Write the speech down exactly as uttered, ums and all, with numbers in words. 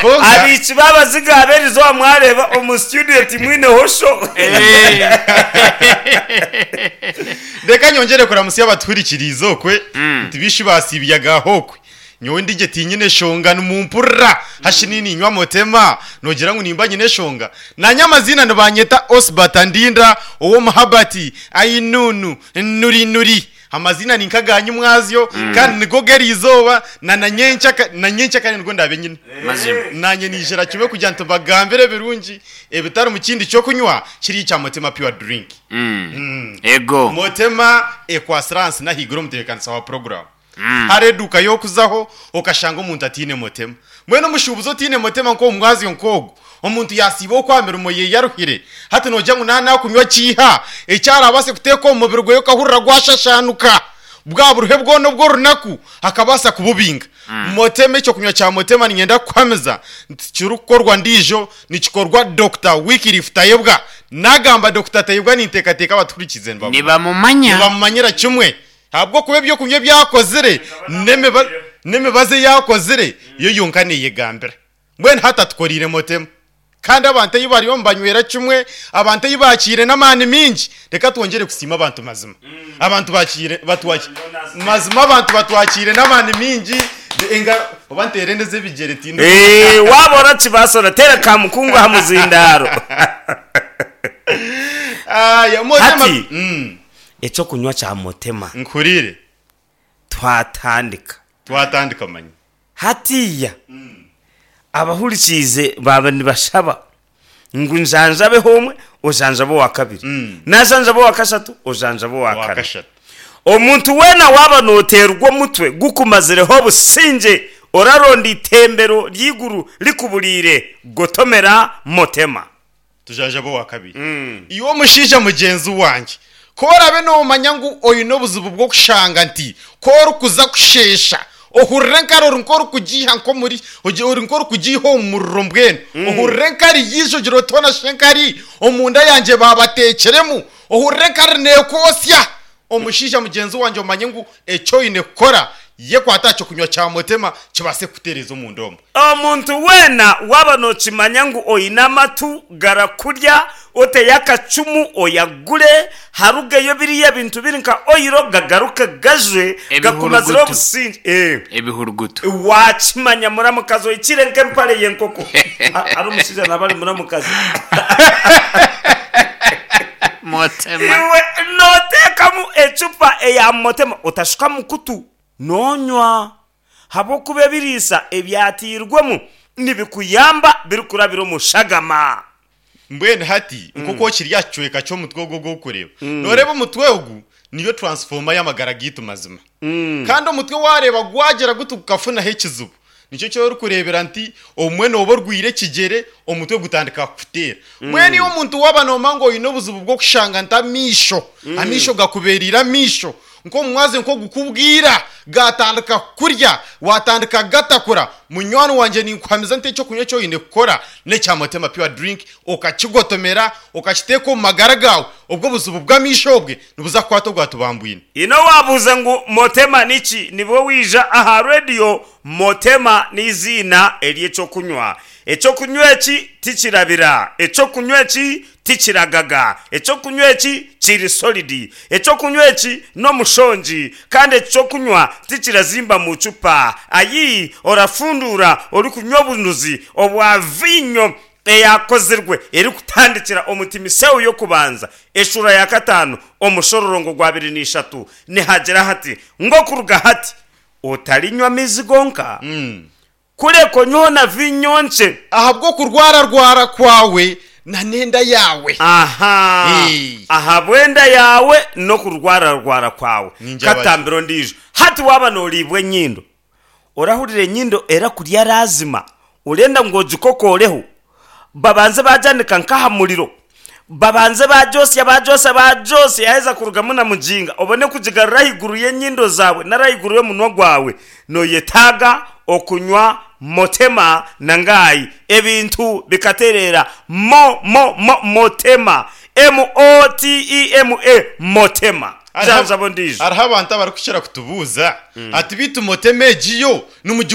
Konka Abiiki b'abaziga ab'erizooba mwareeba omu studio timwineho show. Reka nyongyere kuramutsya abatuhurikiriize okwe nti bishi baasiibyaga aho okwe. Nyowe ndigye tinyine eshonga nimumpurira hashi niinywa Motema noogira ngu nimba nyine eshonga. Naanye amaziina nibanyeta Osbert Ndinda ow'omuhabati Ainunu Nuri Nuri. Amaziina ni nk'aganyu mwazyo kandi nigo g'eriizooba na na nyencaka na nyencakare nigo ndaabe nyine. Mazima. Naanye niijira kimwe kugira nti mbagambire ebirungi ebitari mu kindi ky'okunywa kiri ekya Motema Pure Drink. Ego. Motema ekwasire ahansi n'ahaiguru omutebeekanisa wa puroguraamu. Hariho eduuka y'okuzaho okashanga omuntu ataine Motema. Mbwenu omushuubuzi otaine Motema nk'omu mwazyo nk'ogu, omuntu yaasiiba okwo aha mirimo ye aruhire, hati noogira ngu naaba naakunywa kiiha eki arabaase kuteeka omu mubiri gwe okahurira gwashashaanuka, bwa buruhe bwona obw'orunaku akabaasa kububinga. Motema, ekyokunywa kya Motema niinyenda kukuhamiza nti tikirikukorwa ndiijo, nikikorwa Dokita Wycliffe Tayebwa. Naagamba Dokita Tayebwa ninteekateeka abatuhurikiize nibamumanya. Nibamumanya. Nibamumanyira kimwe ahabw'okuba ebyokunywa ebi akozire n'emiba- n'emibazi ei akozire yo yonka neeyegambira. Mbwenu hati atukoreire Motema. Kandi abantu ei bariyo nibanywera kimwe, abantu ei baakiire n'amaani mingi. Reka twongyere kusiima abantu mazima. Abantu bakiire batwaki mazima abantu batwakiire n'amaani mingi. Enga oba nteere ndeze ebigyere tindi. Eh, waaba orakibaasa orateera kamukungu aha muzindaaro. Aya, Motema. Hati. Mm, Ekyokunywa kya Motema nkuhuriire. Twatandika. Twatandika manya. Hatiiya abahurikiize baaba nibashaba ngu njanjabeho omwe, ojanjabe owa kabiri. Mm. Najanjaba owa kashatu, ojanjabe owa Owa kana. kashatu. Omuntu weena waaba nooteerwa omutwe gukumazireho obusingye, oraronda itembero ry'eiguru rikuburiire, gotomera Motema. Tujanjabe owa kabiri. Iwe omushaija mugyenzi wangye, ku oraabe noomanya ngu oine obuzibu bw'okushanga nti ku orikuza kusheesha ohurire enkari ori nk'orikugiiha nk'omuri ogi- ori nk'orikugiiha omu muriro mbwenu ohurire enkari yiija ogira oti hoona shi enkari omunda yangye baabateekiremu ohurire enkari neekwosya. Omushaija mugyenzi wangye omanye ngu eki oine kukora yekwata aha kyokunywa kya Motema kibaase kukutereeza omunda omwo. Omuntu weena waaba nookimanya ngu oine amatu garakurya, oteyo akacumu oyagure, harugeyo biriya bintu biri nka oyiro gagaruke gajwe gakumazire Ebihurugutu. obusingye. Eh. Ebihurugutu. Waakimanya muramukazi oikire nk'empare y'enkoko. A- Ari omushaija naaba ari muramukazi. Motema. Iwe nooteekamu ecupa eya Motema otashuka mukutu noonywa habw'okuba ebiriisa ebyatairwemu nibikuyamba birikurabira omu shagama. Mbwenu hati nk'oku okiri aha kicweka ky'omutwe ogu ogw'okureeba, nooreeba omutwe ogu niyo transformer y'amagara gaitu mazima. Kandi omutwe waareeba gwagira guti gukafunaho ekizibu, nikyo eki orikureebera nti obumwe nooba orwaire ekigyere omutwe gutandika kukuteera. Mbwenu iwe omuntu waaba noomanya ngu oine obuzibu bw'okushanga nti amaisho, amaisho gakubeereire amaisho, nk'omu mwazyo nk'ogukubwira gaatandika kukurya, waatandika kugatakura, munywani wangye ninkuhamiza nti ekyokunywa eki oine kukora n'ekya Motema Pure Drink, okakigotomera, okakiteeka omu magara gaawe, obwo obuzibu bw'amaisho obwe nibuza kukwata obwatubambwine. Ino waabuuza ngu Motema niki, nibwo waija aha rediyo. Motema n'eiziina ery'ekyokunywa. Ekyokunywa eki tikirabira. Ekyokunywa eki tikiragaga. Ekyokunywa eki kiri solidi. Ekyokunywa eki n'omushongi. Kandi eki kyokunywa tikirazimba mu cupa. Ayi, orafunduura orikunywa obunuzi obwa viinyo eyakozirwe erikutandikira omu Timiseo y'Okubanza eshuura ya kataano omushororongo gwa abiri na ishatu nihagira hati, Ngu okuruga hati otarinywa maizi gonka, kureka onyweho na viinyo nkye. Ahabw'okurwararwara kwawe na n'enda yaawe. Aha, Ee. ahabw'enda yaawe n'okurwararwara kwawe. Ningira bati. Katambiro ondiijo. Hati waaba nooriibwa enyindo, orahurira enyindo erakurya laazima orenda ngu ogikokooreho, babanze baagyanika nk'aha muriro, babanze baagyosya baagyosya baagyosya yaaheza kurugamu na muginga obone kugigarura ahaiguru y'enyindo zaawe nari ahaiguru y'omunwa gwawe. Nooyetaaga okunywa Motema na Ngai ebintu bikatereera. Mo, mo, mo, Motema. M O T E M A, Motema. Janjaba ondiijo. Hariho abantu abarikukira kutubuuza ati, Beitu Motema egi yo nimugigura?